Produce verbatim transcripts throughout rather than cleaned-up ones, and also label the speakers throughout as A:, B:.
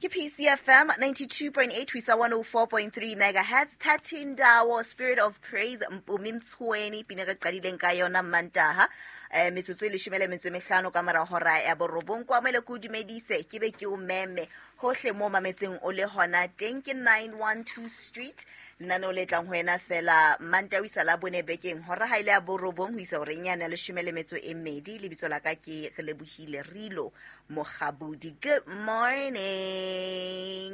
A: Ke P C F M ninety-two point eight ho isa one oh four point three megahertz. Thatindawo Spirit of Praise Mpumi Mtsweni pina re qadileng ka yona Mantaha. Eh metsotso e leshome le metso e mehlano ka mora hora ya borobong. Kwa mele ke o dumedise ke be ke o meme hohle mo mametseng o le hona teng. Ke nine one two Street lenaneo le tlang ho wena fela Mantaha ho isa la bone bekeng hora ha ile ya borobong ho isa horeng ya leshome le metso e mmedi. Lebitso la ka ke Relebohile Rilo Mokgabudi. Good morning.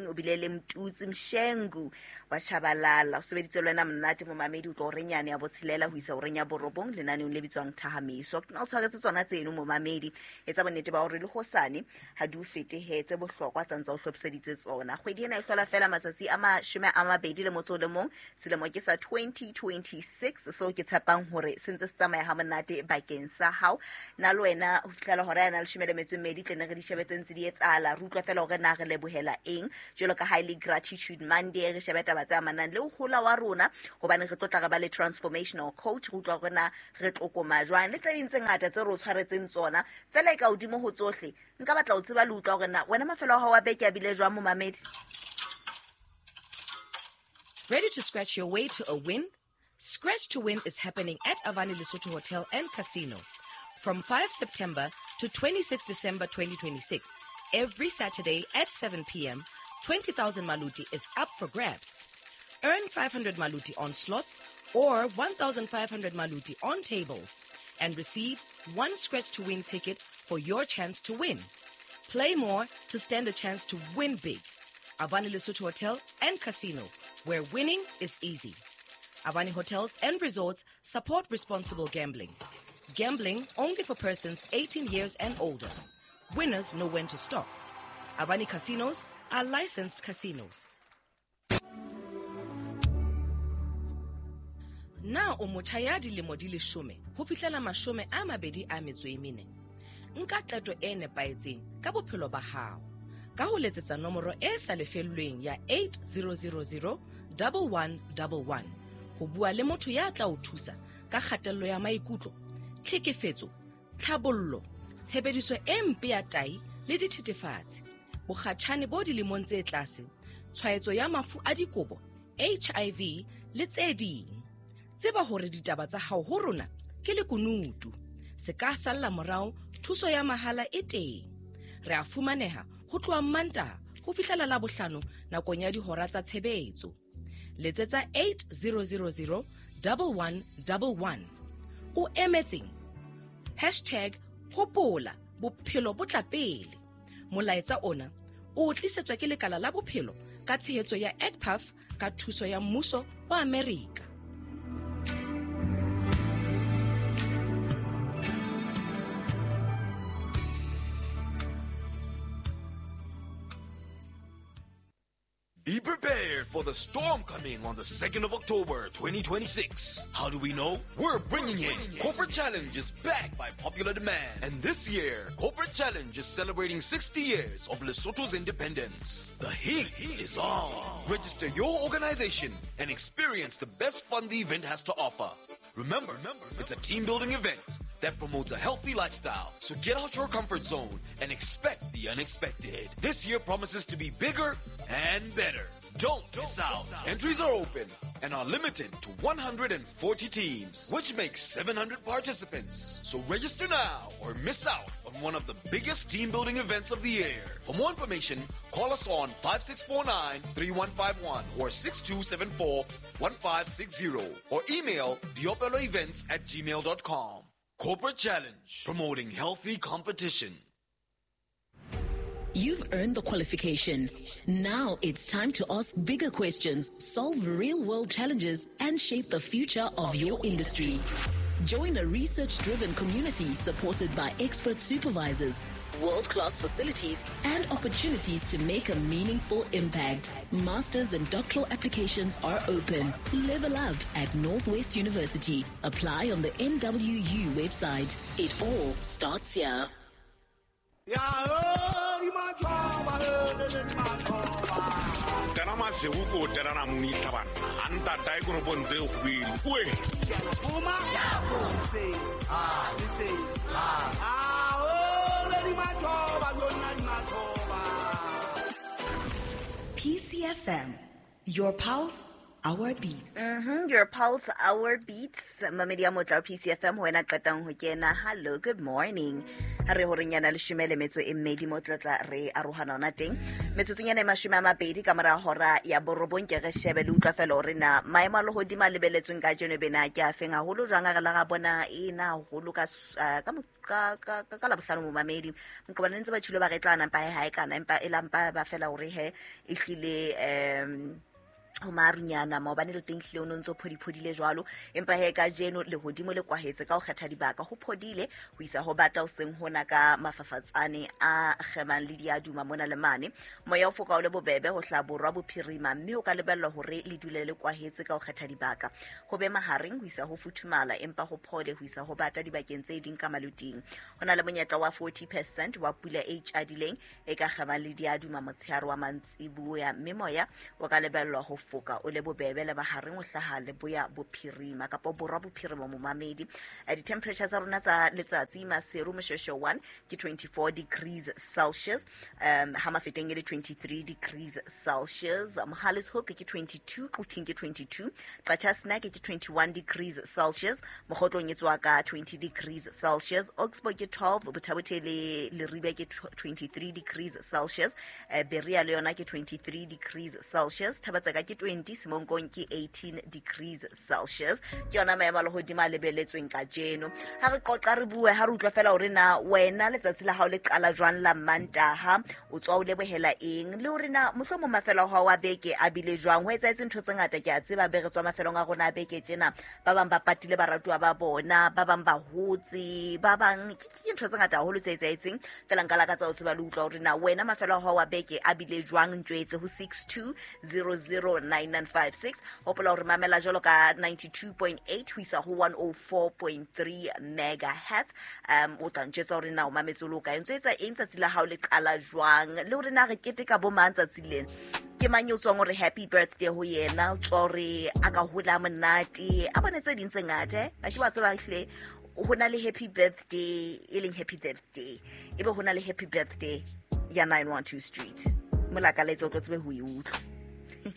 A: O bile le Mtutsi Mshengu wa Tshabalala. O sebeditse le wena monate momamedi o tlo horeng yane ya botshelela ho isa horeng ya borobong lenaneong le bitswang Thahamiso. Ke na o tshwaretse tsona tseno momamedi. Etsa bonnete ba hore le hosane ha di o fete he tse bohlokwa tsa ntse o hlophiseditse tsona. Kgwedi ena e hlola fela matsatsi a mashome a mabedi le motso o le mong. Selemo ke sa twenty twenty-six, so ke tshepang hore se ntse se tsamaya ha monate bakeng sa hao. Na le wena ho fihlela hora ya leshome le metso e mmedi tle ne re di shebe tse ntse di etsahala. Re utlwa fela hore na re lebohela eng jwalo ka ha e le Gratitude Monday. Re shebe taba tse amanang le ho hola wa rona hobane re tlotla re ba le transformational coach. Re utlwa hore na re tlokoma jwang le tse ding tse ngata tse re o tshwaretseng tsona. Fela e ka hodimo ho tsohle nka batla ho tseba le utlwa hore na wena mafelo a hao a beke a bile jwang momamedi.
B: Ready to scratch your way to a win? Scratch to Win is happening at Avani Lesotho Hotel and Casino from five September to twenty-sixth December twenty twenty-six. Every Saturday at seven p m, twenty thousand Maluti is up for grabs. Earn five hundred Maluti on slots or one thousand five hundred Maluti on tables and receive one Scratch to Win ticket for your chance to win. Play more to stand a chance to win big. Avani Lesotho Hotel and Casino, where winning is easy. Avani Hotels and Resorts support responsible gambling. Gambling only for persons eighteen years and older. Winners know when to stop. Avani Casinos are licensed casinos. Na o motjha ya dilemo di leshome ho fihlela mashome a mabedi a metso e mene. Nka qeto e nepahetseng ka bophelo ba hao ka ho letsetsa nomoro e sa lefellweng ya eight zero zero zero one one one one ho bua le motho ya tla o thusa ka kgatello ya maikutlo, tlhekefetso, tlhabollo, tshebediso e mpe ya tahi le dithethefatsi, bokgatjhane bo dilemong tse tlase, tshwaetso ya mafu a dikobo, H I V le tse ding. Tseba hore ditaba tsa hao ho rona ke lekunutu. Se ka salla morao, thuso ya mahala e teng. Re a fumaneha ho tloha Mantaha ho fihlela Labohlano nakong ya dihora tsa tshebetso. Letsetsa eight zero zero zero one one one one. O emetseng? Hashtag hopola bophelo bo tla pele. Molaetsa ona o tlisetswa ke lekala la bophelo ka tshehetso ya E C P A F ka thuso ya mmuso wa Amerika.
C: Be prepared for the storm coming on the second of October, twenty twenty-six. How do we know? We're bringing it. Corporate Challenge is back by popular demand. And this year, Corporate Challenge is celebrating sixty years of Lesotho's independence. The heat is on. Register your organization and experience the best fun the event has to offer. Remember, it's a team-building event that promotes a healthy lifestyle. So get out your comfort zone and expect the unexpected. This year promises to be bigger and better. Don't miss out. Entries are open and are limited to one hundred forty teams, which makes seven hundred participants. So register now or miss out on one of the biggest team-building events of the year. For more information, call us on five six four nine, three one five one or six two seven four, one five six zero or email diopeloevents at gmail dot com. Corporate Challenge, promoting healthy competition.
D: You've earned the qualification. Now it's time to ask bigger questions, solve real-world challenges, and shape the future of your industry. Join a research-driven community supported by expert supervisors, world-class facilities, and opportunities to make a meaningful impact. Masters and doctoral applications are open. Level up at Northwest University. Apply on the N W U website. It all starts here.
E: P C F M. Your pulse, our beat.
A: Mm-hmm, your pulse, our beats. Mamedi ya motla wa P C F M, ho wena qetang ho kena. Hello, good morning. Ha re horeng yana leshome le metso e mmedi mo tlotla re arohana ona teng. Metsotsong yana e mashome a mabedi ka mora hora ya borobong, ke re shebe le utlwa fela hore na maemo a lehodimo a lebeletsweng kajeno bena ke a feng haholo jwang. A re la ga bona e na haholo ka s- eh, ka mo- ka ka ka ka Labohlano, momamedi. Moqobane ntse ba tjhilo ba re tla nampa he ha e kana, empa e lampa ba fela hore he e hlile um ho marunyana maobane le teng hlile o no ntso phodiphodile jwalo. Empa he kajeno lehodimo le kwahetse ka ho kgetha dibaka, ho phodile ho isa ho bata hoseng hona ka mafafatsane a kgemang le diaduma mona le mane. Moya o foka o le bobebe ho hlaha borwa bophirima, mme o ka lebellwa hore le dule le kwahetse ka ho kgetha dibaka, ho be mahareng ho isa ho futhumala, empa ho phole ho isa ho bata dibakeng tse ding ka maloting. Ho na le monyetla wa forty percent wa pula e itjadileng e ka kgemang le diaduma motshehare wa mantsiboya, mme moya o ka lebellwa ho foka o le bobebe le mahareng o hlaha leboya bophirima kapa borwa bophirima, momamedi. Eh, di-temperature tsa rona tsa letsatsi: Maseru, Moshweshwe one ke twenty-four degrees Celsius, um ha Mafeteng e le twenty-three degrees Celsius, Mohale's Hoek ke twenty-two, Quthing ke twenty-two, Qacha's Nek ke twenty-one degrees Celsius, Mokhotlong e tswa ka twenty degrees Celsius, Oxbow ke twelve, Botha-Bothe le Leribe ke twenty-three degrees Celsius, eh, Berea le yona ke twenty-three degrees Celsius, Thaba-Tseka ke twenty, Semonkong ke eighteen degrees Celsius. Ke yona maemo a lehodimo a lebeletsweng kajeno. Ha re qoqa, re bue, ha re utlwa fela hore na wena letsatsi la hao le qala jwang la Mantaha, o tswa o lebohela eng, le hore na mohlomong mafelo a hao a beke a bile jwang. Ho etsahetse ntho tse ngata, ke a tseba, be re tswa mafelong a rona a beke tjena. Ba bang ba patile baratuwa ba bona, ba bang ba hotse, ba bang ke ke ntho tse ngata haholo tse etsahetseng. Fela nka lakatsa ho tseba le utlwa hore na wena mafelo a hao a beke a bile jwang. Ntjwetse ho six two zero zero nine nine five six. Hopola hore mamela jwalo ka ninety-two point eight ho isa ho one oh four point three megahertz. um o tla ntjwetsa hore na o mametse o le o kae, ntso etsa eng, tsatsi la hao le qala jwang, le hore na re keteka bo mang tsatsi lena, ke mang eo tswang hore happy birthday ho yena, o tswa hore a ka hola monate, a bone tse ding tse ngata. Eh a ke wa tseba hle ho na le happy birthday e leng happy birthday, ebe ho na le happy birthday ya nine one two Street. Molakaletso o tlo tsebe ho e utlwa.